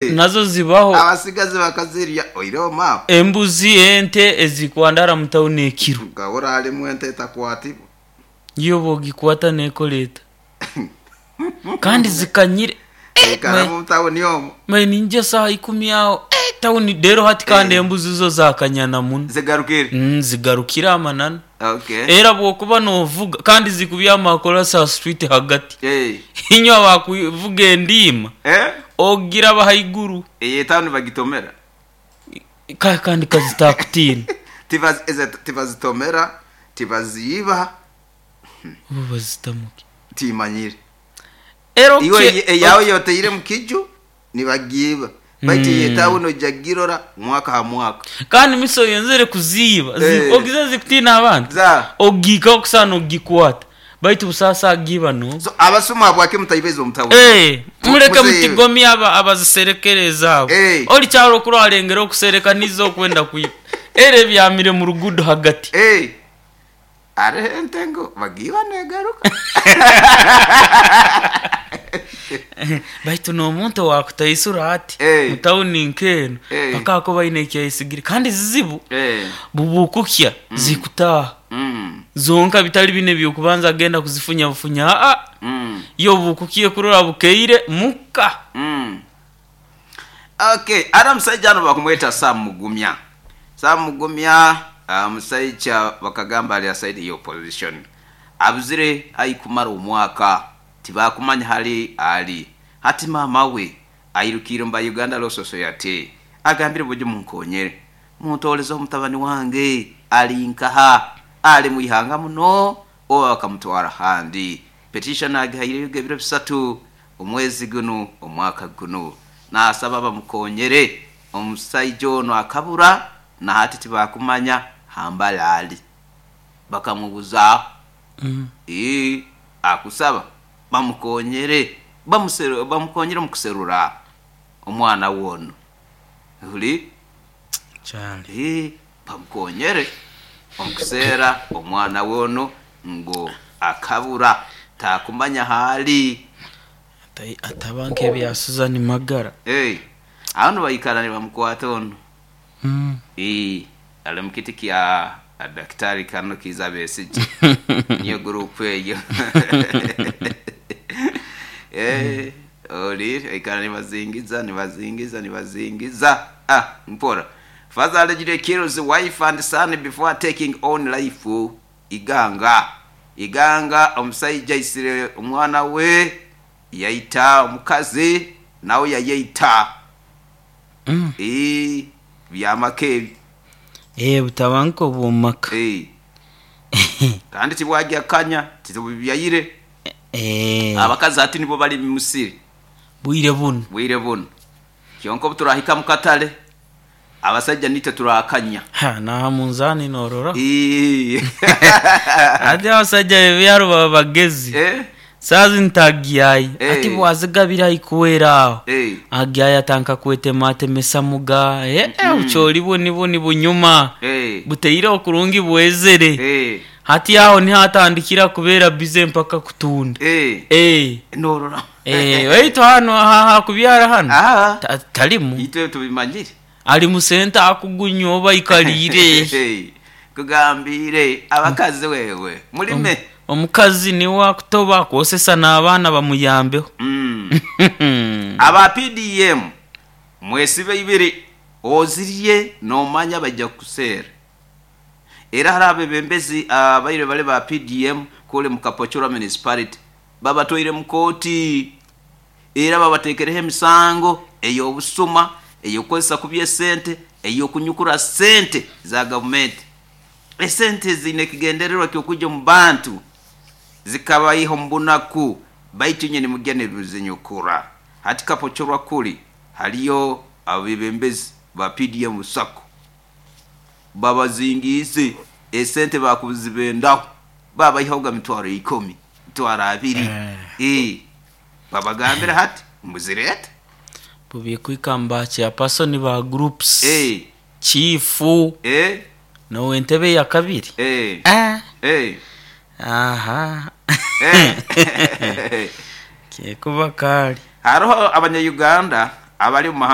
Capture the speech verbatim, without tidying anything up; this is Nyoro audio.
Nazo zibaho. Abasigazi bakazirya oireho maama. Embuzi, ente ezikwandara mu tawuni ekiro. Gahora halimu ente etakwatibwa. Yo bogikwata nekoleeta kandi zikanyire. Ikara mu tawuni omwo. Maye ninja saha ikumi aho, eh, tawuni rero hati kandi Eh. embuzi zo zakanyana muno. Zigarukire. Mm, zigarukire amananu. Okay. Era bwokuba novuga kandi zikubyama akolasa street hagati. Eh. Inywa bakuvuga endiima. Eh? Ogira bahaiguru. Iyi tawuni bagitomera. Ka- kandi kazitakutiina. Tibaz- eze- tibazitomera, tibaziiba, Oba bazitamuki. timanyire. Era Iwe oke- eyawe yoteire mu kiju nibagiiba. Baitu iyi Mm. tawuni ojagirora mwaka ha mwaka. Kandi miso yenzere kuziiba. Zi- Eh. Ogize zikutiina abantu. Za. Ogiika okusana ogikwata. Baitu busaasa agiiba no. So abasuma habwaki mutaibeza omu tawuni? Eh, muleke Muzeeyi. mutigomya aba abaziserekereza abo. Eh. Oli kyalo okuralengera okusereka nizo okwenda kwiba. Era ebyamire mu rugudo hagati. Eh. Hariho ente ngo bagiiba negaruka. Baitu n'omuntu owakutaisura ati Eh. mu tawuni nk'eno Eh. paka ako baine ekyayisigire kandi zizibu Eh. bubukukya zikutaaha Mm. zonka bitali bine byokubanza agenda kuzifunya bufunya aa Mm. yo bukukiye kurora bukeire muka. Mm. Okay, ara musajja ano bakumweta Sam Mugumya. Sam Mugumya uh, musajja bakagamba ali aside ya opposition. Abuzire aikumara omwaka tibakumanya hali ali. Hati mama we airukire mba Uganda Law Society. Agambire buje munkonyere. Muntoleze omutabani wange ali nkaha ali mwihanga muno oba bakamutwara handi. Petition agihaireyo ebiro bisatu omwezi guno omwaka guno nasaba bamukonyere omusaija ono akabura nahati tibakumanya hambalaali bakamubuza. Mm. Ee, akusaba bamukonyere bamuseru- bamukonyere mukuserura omwana wono huli. Kyali. Ee, bamukonyere omukuseera omwana wono ngo akabura takumanya haali. Ata- ataba nk'ebya Susan Magara. Hey, ano baikara nibamukwata ono. Mm. Eh, ali mukiti kya daktari kano Kiza Besigye. Niyo group eyo. Eh, oli ikara nibazingiza nibazingiza nibazingiza. Ah, mpora. Father allegedly kills wife and son before taking own life. Iganga. Iganga omusajja aisire omwana we yaita omukazi nawe yayeita. Mm. Eh, byamaka ebyo. Eh, butaba nk'obwomaka. Eh. Kandi tibwajya kanya titubyayire. Eh, Abakazi ati nibo bali musiri bwire buno. bwire buno kyonka obu turahika mu katale abasajja nitwe turakanya. Ha, naha munzani norora. Eh. Ati abasajja bebyaro baba bagezi. Eh, Sazi ntagiyayi. Eh. Ati bwazigabira ikuwera aho. eh. Agiyayi atanka kwetematemesa muga. Eh, eh, bukyoli buni buni bunyuma. Eh. Buteire okurungi bwezere. Eh. Hati aho niho atandikira kubeera bize mpaka kutunda. Eh. Eh. Norora. Eh, waitu hano ha kubyara hano. Ah. Ta- Talimu. Itwe tubimanyire. Ali musenta akugunya oba ikalire. Eh. Kugambire abakazi wewe mulime. Omukazi niwe akutoba akwosesa n'abaana bamuyambeho. Mm. Aba P D M mwesibe ibiri ozirye nomanya bajja kuseera era hari abebembezi abaire bale ba P D M kule mu Kapochora municipality babatwaire mu kooti era babatekereho emisango ey'obusuma, ey'okukozesa kubi esente, ey'okunyukura sente za gavumenti. Esente ziine ekigendererwa ky'okujja omu bantu zikabayiha omu bunaku baitu nye nimugya nibizinyukura. Hati Kapochorwa kuli haliyo abebembezi ba P D M sako babazingiise esente bakuzibendaho babayihaho mitwaro ikumi mitwaro abiri. Eh, babagambire hati muzirete. Bubikwikamba chairperson ba groups. Eh, Chifu eh, nowe entebe ya kabiri. eh, Ah. eh, Aha. eh. Kyekuba kali. Hariho abanyayuganda. Abali mu mahanga.